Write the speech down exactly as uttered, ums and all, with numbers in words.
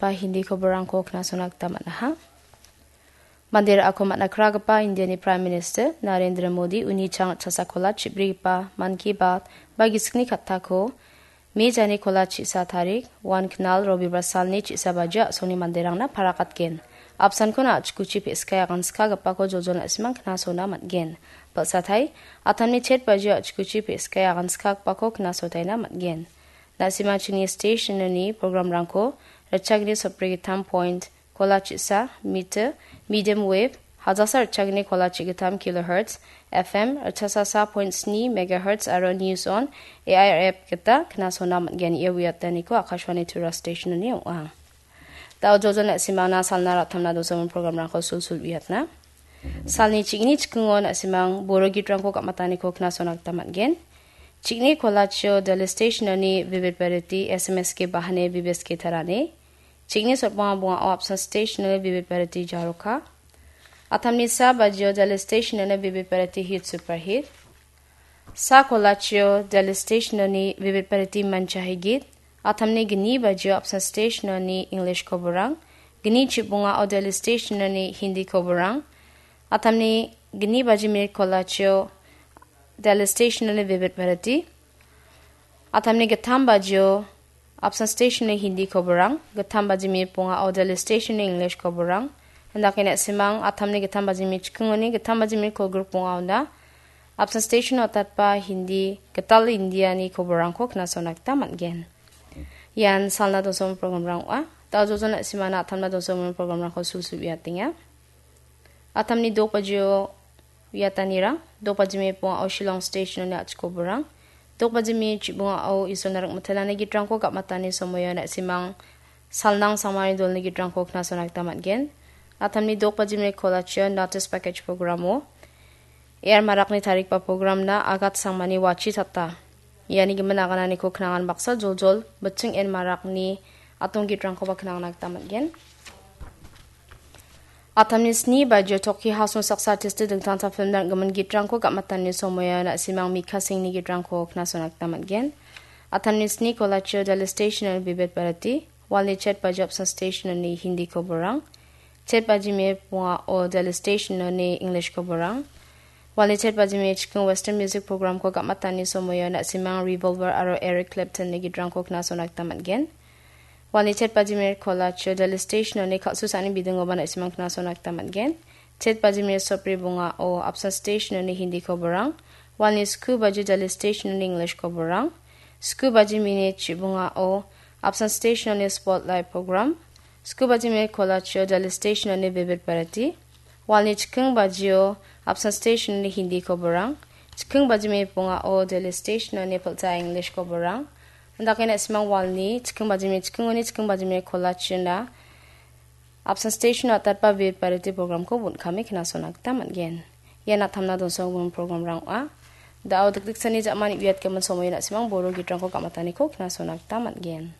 otatpa Hindi koborangko knasona gita man·aha. Mande ra·ako man·a kragipa Indiani Prime Minister Narendra Modi uni chang chasako la chibrigipa Mann Ki Baat ba gisikni kattako Me janiko la chisa tarik, uan knal Robibar salni chisa baji a·songni manderangna parakatgen. Apsankon a·chikuchi pe·skai aganskagipako joljol na·simang knasona man·gen. Balsatai, atamni chet baji a·chikuchi pe·skai aganskagipako knasotaina man·gen. Na·simang chini stationoni programrangko ritchagni sotbrigittam point kola chisa, mita, medium wave, hajasa ritchagni kola chigittam kilohertz, F M, ritchasasa point sni megahertz aro News On, A I R app gita knasona man·gen. Ia uiataniko Akashvani Tura stationoni ong·a. Da·o joljol na·simangna salna ra·tamna dosongimin programrangko sulsul uiatna. Salni ching·ni chikingo na·simang Boro gitrangko gam·ataniko knasona gita man·gen. Ching·ni kolachio Delhi stationoni Vivid Bharati S M S K bahane Vivid S K tarane. Ching·ni sotbonga bongao apsan stationoni Vivid Bharati jaroka. Atamni sa bajio Delhi stationoni Vivid Bharati hit superhit. Sa kolachio Delhi stationoni Vivid Bharati manchahi git. Atamni gni bajio apsan stationoni English koborang. Gni chibongao Delhi stationoni Hindi koborang. Atamni gni baji minit kolachio Delhi stationoni Vivid Bharati. Atamni gittam bajio apsan stationoni Hindi koborang, gittam baji minit bongao Delhi stationoni English koborang. Indake na·simang atamni gittam baji minit chikingoni gittam baji minit kolgrikbongaona apsan station otatpa Hindi gital Indiani koborangko knasona gita man·gen. Ian salna dosongimin programrang ong·a. Da·o joljol na·simangna atamna dosongimin programrangko sulsul uiatenga. Atamni dok bajio uiatanirang, dok baji minit bongao Shillong stationoni a·chik koborang, dok baji minit chibongao Isolna ringmitelani gitrangko gam·atani somoio na·simang Salnang Sangmani dolni gitrangko knasona gita man·gen. Atamni dok baji minit kolachio notice package programo A R Marakni tarikba programna Agat Sangmani wachi tata. Iani gimin agananiko knangan baksa joljol Bitching N Marakni atong gitrangkoba knangna gita man·gen. Atamni sni bajio Toki Hasung saksa artist-o dingtangtang film nang·gimin gitrangko gam·atani somoio na·simang Mikha Singhni gitrangko knasona gita man·gen. Atamni sni kolachio Delhi stationoni Vivid Bharati, walni chet bajio apsan stationoni Hindi koborang, chet baji minit bongao Delhi stationoni English koborang, walni chet baji minit chikingo Western music programko gam·atani somoio na·simang Revolver aro Eric Claptonni gitrangko knasona gita man·gen. Walni chet baji minit kolachio Delhi stationoni kal·susani bidingoba na·simang knasona gita man·gen. Chet baji minit sotbri bongao apsan stationoni Hindi koborang. Walni sku bajio Delhi stationoni English koborang. Sku baji minit chibongao apsan stationoni Spotlight program. Sku baji minit kolachio Delhi stationoni Vivid Bharati. Walni chiking bajio apsan stationoni Hindi koborang. Chiking baji minit bongao Delhi stationoni Pilcha English koborang. Indake na·simang walni chiking baji minit chikingoni chiking baji minit kolachina apsan station otatpa Vivid Bharati programko bon·kame knasona gita man·gen. Ia natamna donsonggimin programrang ong·a. Da·o dikdiksani ja·mani uiatgimin somoio na·simang Boro gitrangko gam·ataniko knasona gita man·gen.